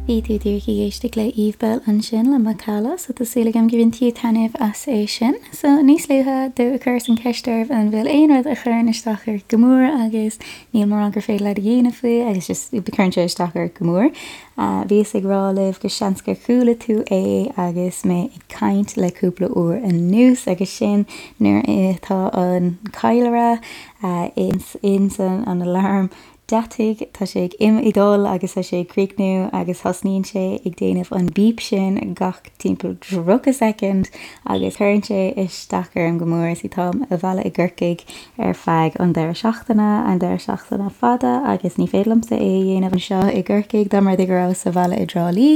Bhí tú díreach ag éisteacht le Eve Belle ansin le Macalla, so tá súil agam gur bhain tú taitneamh as é sin. So níos luaithe do chuireas an cheist oraibh an bhfuil aon rud a chuireann isteach ort go mór agus níl mórán gur féidir leat a dhéanamh faoi agus just cuireann sé isteach ort go mór. Bhíos ag rá libh go seans gur chuala tú é agus mé ag caint le cúpla uair anuas agus sin nuair atá an callaire ins an alarm deataigh, tá sé ag im ag dul agus tá sé ag críochnú agus thosnaíonn sé ag déanamh an beep sin gach timpeall 30 soicind agus cuireann sé isteach orm go mór. See táim abhaile i gCorcaigh ar feadh an deireadh seachtaine, an deireadh seachtaine fada agus ní féidir liomsa é a dhéanamh anseo i gCorcaigh dá mba rud é go rabhas sa bhaile i dTrá Lí.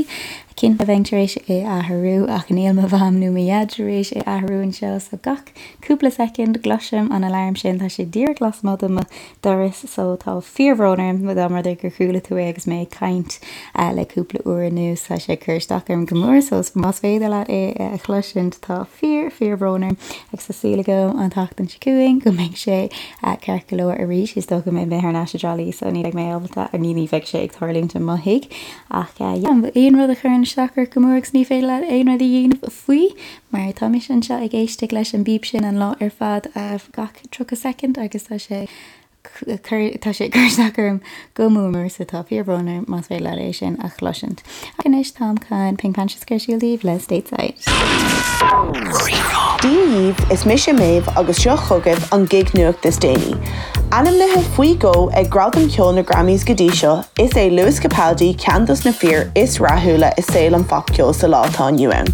Cinnte bheinn tar éis é a athrú ach níl mo mham nó mo dhaid tar éis é a athrú anseo so gach cúpla soicind gcloisim an alarm sin, tá sé díreach lasmuigh de mo doras so tá fíorbhrón orm dá mba rud é gur chuala tú é agus mé ag caint le cúpla uair anuas tá sé ag cur isteach orm go mór so más féidir leat é a chloisint tá fíor fíorbhrón orm agus tá súil agam an tseachtain seo chugainn go mbeidh sé ceart go leor arís is dócha go mbeidh mé thar n-ais i dTrá Lí so ní bheidh mé ábalta ní ní bheidh sé ag tarlúint i mo thigh ach yeah aon rud a chuireann isteach ort go mór agus ní féidir leat aon rud a dhéanamh faoi mar tá mise anseo ag éisteacht leis an bíp sin an lá ar fad gach 30 soicind agus tá sé tá sé ag cur isteach orm go mór mór so tá fíorbhrón orm más féidir leat é sin a chloisint. Ach anois táim chun Pink Panthers a chur ar siúl daoibh le Stateside. Dia dhaoibh, is mise Méabh agus seo chugaibh an gig nuacht is déanaí. Ainmnithe faoi dhó ag Gradaim Cheoil na Grammys go dtí seo, is é Lewis Capaldi ceann dos na fir is rathúla i saol an phopcheoil sa lá atá inniu ann.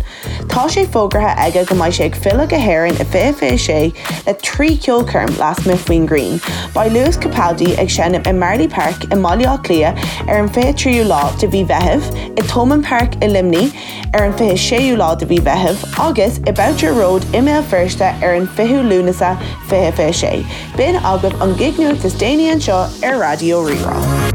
Tá sé fógartha aige go mbeidh sé ag filleadh go hÉirinn i 2026 le 3 cheolchoirm lasmuigh faoin ngrian. Beidh Lewis Capaldi ag seinm i Marlay Park i mBaile Átha Cliath ar an 23ú lá de mhí Mheithimh, i Thomond Park i Luimnigh ar an 26ú lá de mhí Mheithimh agus i Boucher Road i mBéal Feirste ar an 20ú Lúnasa 2026. B'in agaibh an gig nuacht is déanaí anseo ar Raidió Rí-Rá.